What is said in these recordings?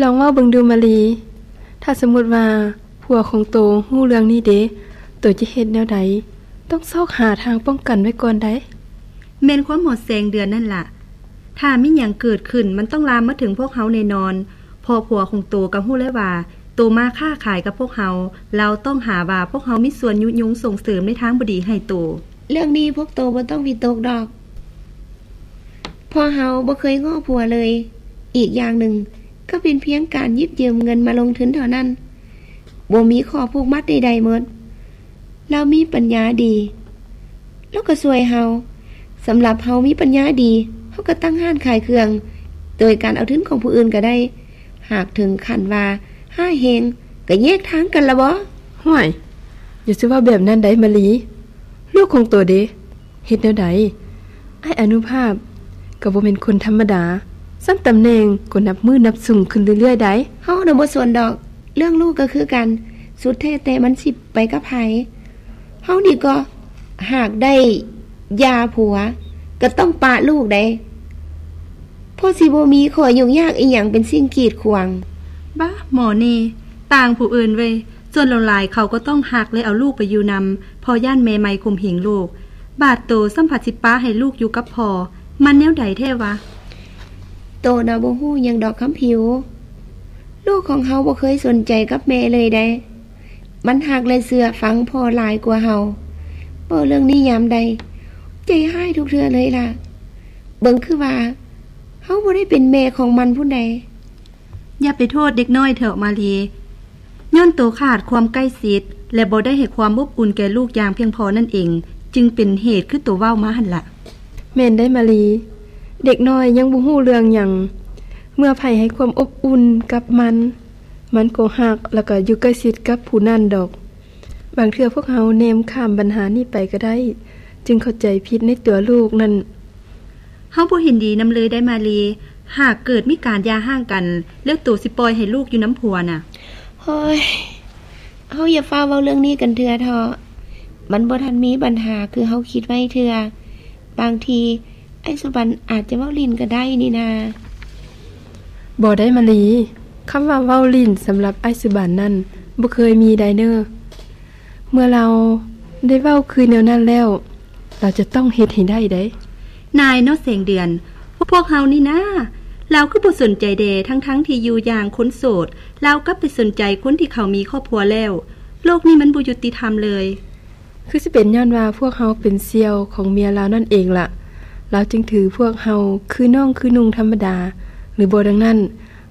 ລອງເວົ້າເບິ່ງດູມາລີ, ຖ້າສົມມຸດວ່າຜົວຂອງໂຕຮູ້ເລື່ອງນີ້ເດ, ໂຕຈະເຮັດແນວໃດ? ຕ້ອງຊອກຫາທາງປ້ອງກັນໄວ້ກ່ອນໃດ໋. ແມ່ນຄວາມໝໍແສງເດືອນນັ້ນລະ. ຖ້າມີຫຍັງເກີດຂຶ້ນ, ມັນຕ້ອງລາມມາເຖິງພວກເຮົາແນ່ນອນ, ເພາະຜົວຂອງໂຕກໍຮູ້ແລ້ວວ່າ ໂຕມາຄ້າຂາຍກັບພວກເຮົາ, ລາວຕ້ອງຫາວ່າພວກເຮົາມີສ່ວນຍຸຍົງສົ່ງເສີມໃນທາງບໍ່ດີໃຫ້ໂຕ. ເລື່ອງນີ້ພວກໂຕບໍ່ຕ້ອງວິຕົກດອກ. ເພາະເຮົາບໍ່ເຄີຍງໍ້ຜົວເລີຍ. ອີກຢ່າງໜຶ່ງກໍເປັນພຽງການຢິບຢືມເງິນມາລົງທຶນເທົ່ານັ້ນ, ບໍ່ມີຂໍ້ຜູກມັດໃດໆໝົດ. ລາວມີປັນຍາດີ, ລາວກໍຊ່ວຍເຮົາ. ສຳລັບເຮົາມີປັນຍາດີ, ເຮົາກໍຕັ້ງຮ້ານຂາຍເຄື່ອງ ໂດຍການເອົາທຶນຂອງຜູ້ອື່ນກໍໄດ້. ຫາກເຖິງຂັ້ນວ່າຮ້າຍແຮງ, ກໍແຍກທາງກັນລະບໍ? ຫ້ວຍ, ຢ່າຊິເວົ້າແບບນັ້ນໄດ໋ມາລີ. ລູກຂອງໂຕເດ? ເຮັດແນວໃດ? ອ້າຍອະນຸພາບກໍບໍ່ແມ່ນຄົນທຳມະດາ, ຊັ້ນຕຳແໜ່ງກໍນັບມື້ນັບສູງຂຶ້ນເລື້ອຍໆໄດ໋. ເຮົານະບໍ່ສົນດອກ, ເລື່ອງລູກກໍຄືກັນ, ສຸດແທ້ແຕ່ມັນຊິໄປກັບໃຜ. ເຮົານີ້ກໍຫາກໄດ້ຢາຜົວ, ກໍຕ້ອງປະລູກໄດ໋, ເພາະຊິບໍ່ມີຂໍ້ຫຍຸ້ງຍາກອີ່ຫຍັງເປັນສິ່ງກີດຂວາງ. ບ້າ, ໝໍນີ້ຕ່າງຜູ້ອື່ນເວີ້ຍ. ສ່ວນຫຼາຍໆເຂົາກໍຕ້ອງຮັກ ແລະ ເອົາລູກໄປຢູ່ນຳ, ເພາະຢ້ານແມ່ໃໝ່ຂົ່ມເຫງລູກ. ບາດໂຕຊ້ຳພັດຊິປະໃຫ້ລູກຢູ່ກັບພໍ່, ມັນແນວໃດແທ້ວະ? ໂຕນະບໍ່ຮູ້ຫຍັງດອກຄຳຜິວ. ລູກຂອງເຮົາບໍ່ເຄີຍສົນໃຈກັບແມ່ເລີຍໃດ໋. ມັນຮັກ ແລະ ເຊື່ອຟັງພໍ່ຫຼາຍກວ່າເຮົາ. ເວົ້າເລື່ອງນີ້ຍາມໃດ, ໃຈຮ້າຍທຸກເທື່ອເລີຍລະ. ເບິ່ງຄືວ່າເຮົາບໍ່ໄດ້ເປັນແມ່ຂອງມັນພຸ້ນໃດ໋. ຢ່າໄປໂທດເດັກນ້ອຍເຖາະມາລີ, ຍ້ອນໂຕຂາດຄວາມໃກ້ຊິດ ແລະ ບໍ່ໄດ້ໃຫ້ຄວາມອົບອຸ່ນແກ່ລູກຢ່າງພຽງພໍນັ້ນເອງ, ຈຶ່ງເປັນເຫດຄືໂຕເວົ້າມາຫັ້ນລະ. ແມ່ນໄດ໋ມາລີ, ເດັກນ້ອຍຍັງບໍ່ຮູ້ເລື່ອງຫຍັງ. ເມື່ອໃຜໃຫ້ຄວາມອົບອຸ່ນກັບມັນ, ມັນກໍຮັກ ແລ້ວກໍຢູ່ໃກ້ຊິດກັບຜູ້ນັ້ນດອກ. ບາງເທື່ອພວກເຮົາແນມຂ້າມບັນຫານີ້ໄປກໍໄດ້, ຈຶ່ງເຂົ້າໃຈຜິດໃນຕົວລູກນັ້ນ. ເຮົາບໍ່ເຫັນດີນຳເລີຍໄດ໋ມາລີ, ຫາກເກີດມີການຢ່າຮ້າງກັນ ແລ້ວໂຕຊິປ່ອຍໃຫ້ລູກຢູ່ນຳຜົວນະ? ໂອ້ຍ, ເຮົາຢ່າຟ້າວເວົ້າເລື່ອງນີ້ກັນເທື່ອເຖາະ. ມັນບໍ່ທັນມີບັນຫາຄືເຮົາຄິດໄວ້ເທື່ອ. ບາງທີອ້າຍສຸບັນອາດຈະເວົ້າຫຼິ້ນກໍໄດ້ນີ້ນາ. ບໍ່ໄດ້ມາລີ, ຄຳວ່າເວົ້າຫຼິ້ນສຳລັບອ້າຍສຸບັນນັ້ນ ບໍ່ເຄີຍມີໄດ໋ເນີ. ເມື່ອລາວໄດ້ເວົ້າຄືແນວນັ້ນແລ້ວ, ລາວຈະຕ້ອງເຮັດໃຫ້ໄດ້ໄດ໋. ນາຍເນາະແສງເດືອນ, ພວກເຮົານີ້ນາ, ລາວຄືບໍ່ສົນໃຈແດ່, ທັງໆທີ່ຢູ່ຢ່າງຄົນໂສດ, ລາວກັບໄປສົນໃຈຄົນທີ່ເຂົາມີຄອບຄົວແລ້ວ. ໂລກນີ້ມັນບໍ່ຍຸຕິທຳເລີຍ. ຄືຊິເປັນຍ້ອນວ່າພວກເຮົາເປັນສ່ຽວຂອງເມຍລາວນັ້ນເອງລະ, ລາວຈຶ່ງຖືພວກເຮົາຄືນ້ອງຄືນຸ່ງທຳມະດາ, ຫຼືບໍ່ດັ່ງນັ້ນ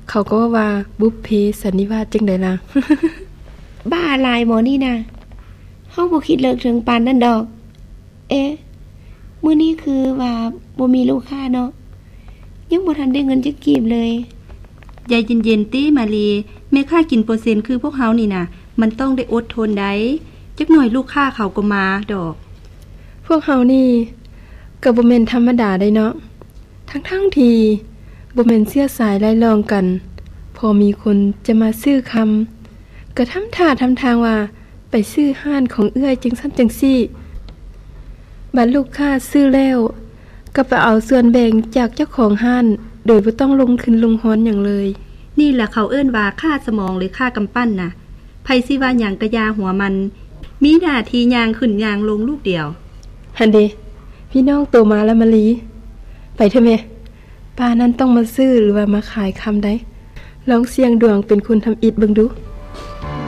ເຂົາກໍເວົ້າວ່າບຸບເພສັນນິວາດຈັ່ງໃດລະ? ບ້າຫຼາຍໝໍນີ້ນະ, ເຮົາບໍ່ຄິດເລິກເຖິງປານນັ້ນດອກ. ເອ, ມື້ນີ້ຄືວ່າບໍ່ມີລູກຄ້າເນາະ, ຍັງບໍ່ທັນໄດ້ເງິນຈັກກີບເລີຍ. ໃຈເຢັນໆຕິມາລີ, ແມ່ຄ້າກິນເປີເຊັນຄືພວກເຮົານີ້ນະ, ມັນຕ້ອງໄດ້ອົດທົນໄດ໋, ຈັກໜ້ອຍລູກຄ້າເຂົາກໍມາດອກ. ພວກເຮົານີ້ກໍບໍ່ແມ່ນທຳມະດາໄດ໋ເນາະ, ທັງໆທີ່ບໍ່ແມ່ນເຊື້ອສາຍລາຍລ້ອງກັນ, ພໍມີຄົນຈະມາຊື້ຄຳ, ກໍທຳທ່າທຳທາງວ່າ ໄປຊື້ຮ້ານຂອງເອື້ອຍຈັ່ງຊັ້ນຈັ່ງຊີ້, ບາດລູກຄ້າຊື້ແລ້ວກໍໄປເອົາສ່ວນແບ່ງຈາກເຈົ້າຂອງຮ້ານ ໂດຍບໍ່ຕ້ອງລົງທຶນລົງຮອນຫຍັງເລີຍ. ນີ້ລະເຂົາເອີ້ນວ່າຄ້າສະໝອງ ຫຼື ຄ້າກຳປັ້ນນະ. ໃຜຊິວ່າຫຍັງກະຢ່າຫົວມັນ, ມີໜ້າທີ່ຍ່າງຂຶ້ນຍ່າງລົງລູກດຽວ. ຫັ້ນເດ, ພີ່ນ້ອງໂຕມາລະມາລີ. ໄປເຖາະແມ່. ປ້ານັ້ນຕ້ອງມາຊື້ ຫຼືວ່າມາຂາຍຄຳໃດ໋. ລອງສ່ຽງດວງເປັນຄົນທຳອິດເບິ່ງດູ.